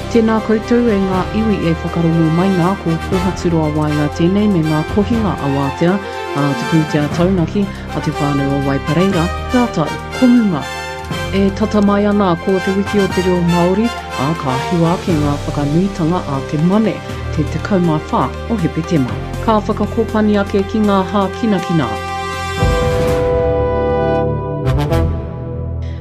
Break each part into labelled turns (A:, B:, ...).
A: Tēnā koutou e ngā iwi e whakarongo mai nā, ko Kōhaturoa Waenga tēnei me ngā kohinga awatea a te pūtea taunaki a te whānau o Waipareira rātou ko Muma. E tata mai ana ko te wiki o te reo Māori, ā, ka hiwa ake ngā whakanuitanga a te Mane, te 14 o Hepetema. Ka whakakōpani ake ki ngā hākinakina.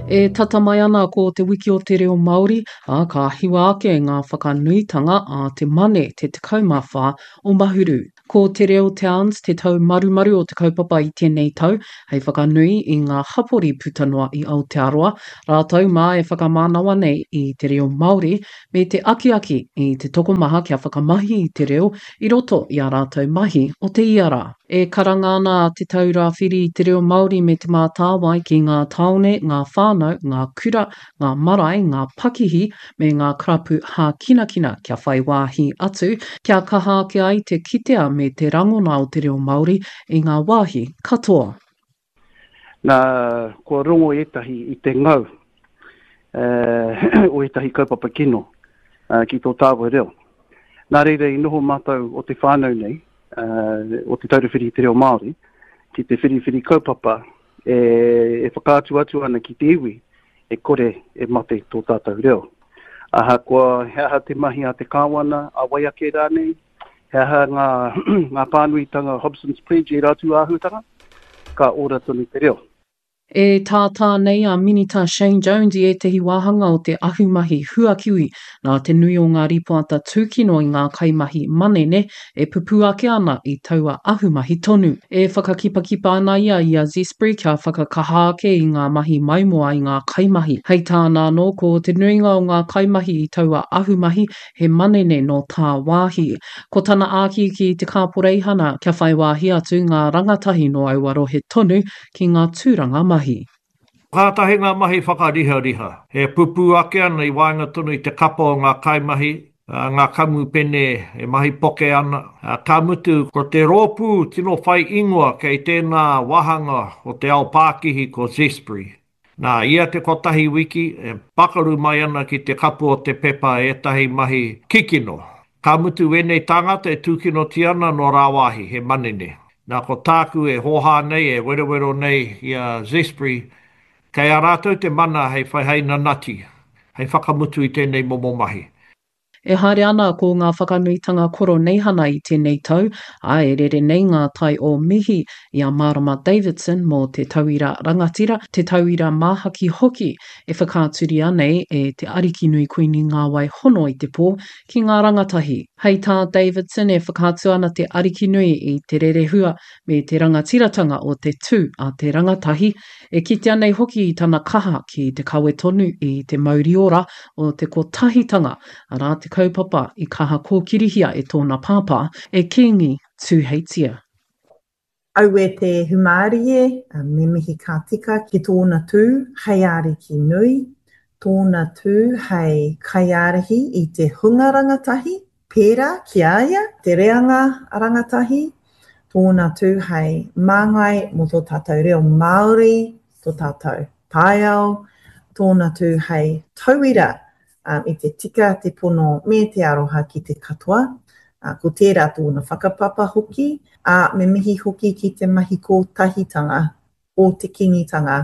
A: E tata mai ana ko te wiki o te reo Māori, ā, ka hiwa ake ngā whakanuitanga a te Mane, te 14 o Mahuru. Ko Te Reo Towns te taumarumaru o te kaupapa i tēnei tau, hei whakanui i ngā hapori puta noa i Aotearoa, rātou mā e whakamānawa nei i te reo Māori me te akiaki i te tokomaha kia whakamahi i te reo i roto i ā rātou mahi o te ia rā. E karanga ana a Te Taura Whiri i te Reo Māori me Te Mātāwai ki ngā tāone, ngā whānau, ngā kura, ngā marae, ngā pakihi me ngā karapu hākinakina kia whai wāhi atu, kia kaha ake ai te kitea me te rangona o te reo Māori i ngā wāhi katoa.
B: Nā, kua rongo ētahi i te ngau o ētahi kaupapa kino ki tō tāua reo. Nā reira i noho mātou o te whānau nei, o Te Taura Whiri i te Reo Māori, ki te whiriwhiri kaupapa e whakaatu atu ana ki te iwi e kore e mate tō tātou reo. Ahakoa he aha te mahi a te kāwana, a wai ake rānei, he aha ngā, ngā pānuitanga Hobson's Pledge ērā tū āhuatanga, ka ora tonu te reo.
A: E tātā nei a Minita Shane Jones i ētehi wāhanga o te ahumahi huakiwi nā te nui o ngā rīpoata tūkino i ngā kaimahi manene e pupū ake ana i taua ahumahi tonu. E whakakipakipa ana ia i a Zespri kia whakakaha ake i ngā mahi maimoa i ngā kaimahi. Hei tāna anō, ko te nuinga o ngā kaimahi i taua ahumahi he manene nō tāwāhi. Ko tana āki ki te kāporeihana kia whai wāhi atu ngā rangatahi nō aua rohe tonu ki ngā tūranga mahi.
C: Kātahi ngā mahi whakarihariha e pupū ake ana i waenga tonu i te kapa o ngā kaimahi, ngā kamupene e mahi poke ana, ka mutu, ko te rōpū tino whai ingoa kei tēnā wāhanga o te ao pākihi ko Zespri. Nā, ia te kotahi wiki, e pakaru mai ana ki te kapu o te pepa ētahi mahi kikino. Ka mutu wēnei tāngata e tūkinotia ana nō rāwāhi, he manene. Nā, ko tāku e hōhā nei, e werowero nei i a Zespri, kei a rātou te mana hei whai hei nanati, hei whakamutu i tēnei momo mahi.
A: E haere ana ko ngā whakanuitanga Koroneihana i tēnei tau, ā, e rere nei ngā tai o mihi i a Marama Davidson mō te tauira rangatira, te tauira māhaki hoki e whakaaturia nei e te Arikinui Kuini Ngāwai Hono i te Pō ki ngā rangatahi. Hei tā Davidson e whakaatu ana te Arikinui i te rerehua me te rangatiratanga o te tū a te rangatahi, e kitea nei hoki i tana kaha ki te kawe tonu i te mauri ora o te kotahitanga, arā te kaupapa i kaha kōkirihia e tōna pāpā, e Kīngi Tūheitia.
D: Aue te humārie, me mihi ka tika ki tōna tū hei ariki nui, tōna tū hei kaiārahi i te hunga rangatahi, pērā ki a ia, te reanga rangatahi, tōna tū hei māngai mō tō tātou reo Māori, tō tātou taiao, tōna tū hei tauira i te tika, te pono me te aroha ki te katoa. Ko tērā tōna whakapapa hoki, ā, me mihi hoki ki te mahi kōtahitanga o te Kīngitanga.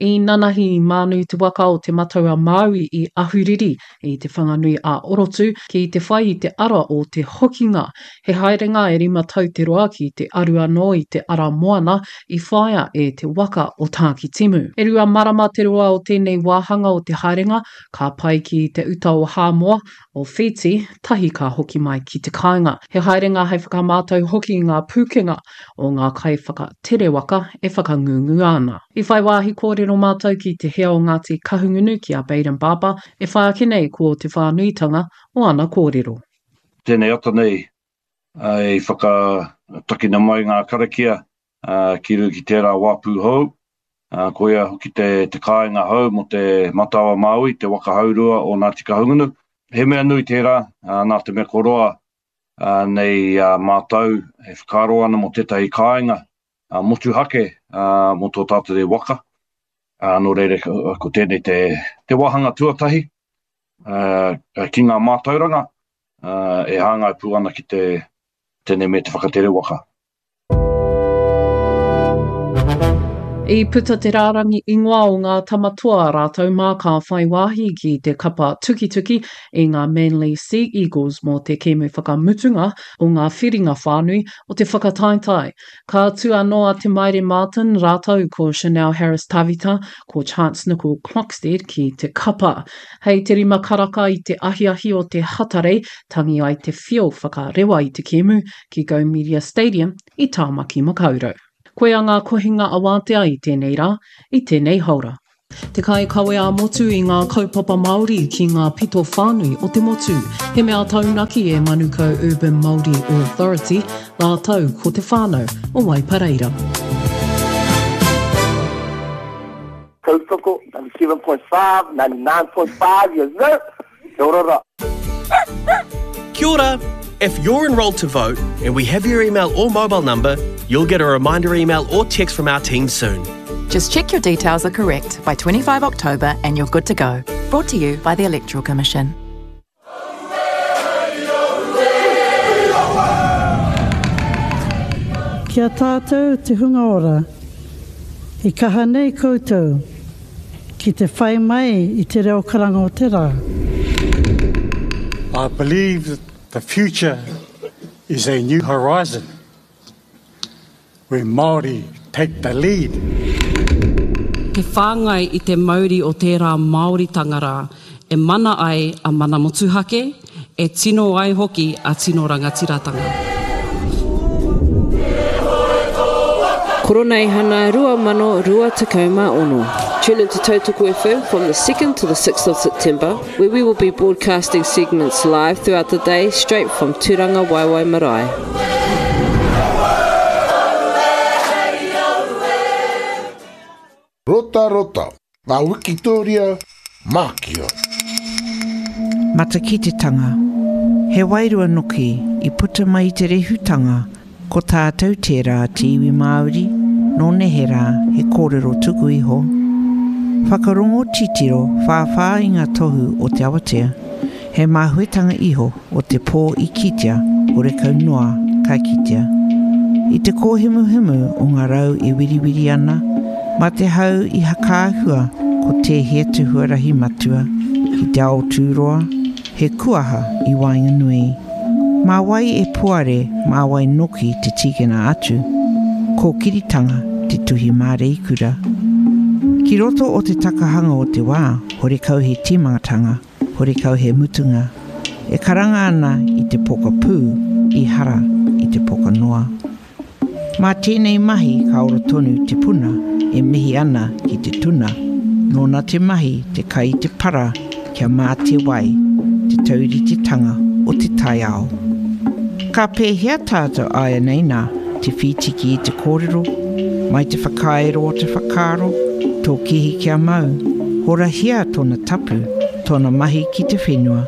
A: I nanahi i mānu te waka o Te Matau-a-Māui i Ahuriri i Te Whanganui a Orotu ki te whai i te ara o te hokinga. He haerenga e rima tau te roa ki te aru anō i te ara moana i whāia e te waka o Tākitimu. E rua marama te roa o tēnei wāhanga o te haerenga, ka pae ki te uta o Hāmoa, o Whītī, tahi ka hoki mai ki te kāinga. He haerenga hei whakamātau hoki i ngā pūkenga o ngā kaiwhakatere waka e whakangungua ana. I whai wāhi kōrero mātou ki te hea o Ngāti Kahungunu ki a Bayden Barber, e whai ake nei ko te whānuitanga o ana kōrero.
E: Tēnei ata nei i whakatakina mai ngā karakia ki runga ki tērā wāpu hou, koia hoki te, te kāinga hou mō te Matau a Māui, te waka haurua o Ngāti Kahungunu. He mea nui tērā, nā te mea ko roa nei mātou e whakaaro ana mō tētahi kāinga motuhake mō tō tātou nei waka. Nō reira, ko tēnei te, te wāhanga tuatahi. ki ngā mātauranga e hāngai pū ana ki te tēnei me te whakatere waka.
A: I puta te rārangi ingoa o ngā tama toa rātou mā ka whai wāhi ki te kapa tukituki i ngā Manly Sea Eagles mō te kēmu whakamutunga o ngā whiringa whānui o te whakataetae. Ka tū anō a Te Maire Martin rātou ko Chanel Harris-Tavita, ko Chance Nicol-Clockstead ki te kapa. Hei te rima karaka i te ahiahi o te Hatarei, tangi ai te whio whakarewa i te kēmu ki Go Media Stadium i Tāmaki Makaurau. Koia ngā kohinga awātea i tēnei rā, i tēnei haora. Te kaikawe ā-motu i ngā kaupapa Māori ki ngā pito whānui o te motu. He mea taunaki e Manukau Urban Māori Authority rātou ko te whānau o Waipareira.
F: Tautoko, 97.5, 99.5, yes sir! Kia ora ra.
G: Kia ora! If you're enrolled to vote and we have your email or mobile number, you'll get a reminder email or text from our team soon.
H: Just check your details are correct by 25 October and you're good to go. Brought to you by the Electoral Commission.
I: Ki a tātou te hunga ora, i kaha nei koutou ki te whai mai i te reo karanga o te rā.
J: I believe that the future is a new horizon where Māori take the lead.
K: Te whāngai i te mauri o tērā Māoritanga rā e mana ai a mana motuhake, e tino ai hoki a tino rangatiratanga.
L: Koroneihana 2026. Tune into Tautoko FM from the 2nd to the 6th of September, where we will be broadcasting segments live throughout the day straight from Turanga Waiwai Marae.
M: Rotarota, ngā wikitōria mākia.
N: Matakitetanga, He wairua noki i puta mai i te rehutanga, ko tātou tērā te iwi Māori, nō neherā he kōrero tuku iho. Whakarongo titiro whāwhā i ngā tohu o te awatea. He māhuetanga iho o te pō i kitea, horekau noa ka kitea. I te kōhimuhimu o ngā rau e wiriwiri ana, mā te hau i hakaahua ko tēhea te huarahi matua ki te ao tūroa, he kuaha i waenganui. Mā wai e puare, mā wai noki te tīkina atu, kōkiritanga te tuhi māreikura. Ki roto o te takahanga o te wā, horekau he tīmatanga. Horekau he mutunga, e karanga ana i te poka pū i hara i te poka noa. Mā tēnei mahi ka ora tonu te puna e mihi ana ki te tuna, nōna te mahi te kai i te para kia mā te wai, te tauritetanga o te taiao. Ka pēhea tātou āianei nā te whītiki i te kōrero, mai te whakaero o te whakaaro, tō kihi kia mau, horahia tōna tapu, tōna mahi ki te whenua,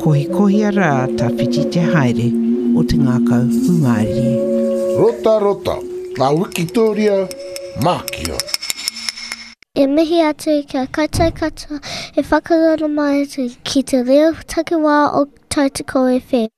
N: kohikohia rā tawhiti te haere o te ngākau hūmārie.
M: Rotarota, ngā wikitōria mākia.
O: E mihi atu ki a koutou katoa e whakarara mai ki te reo takiwā o Tautoko FM.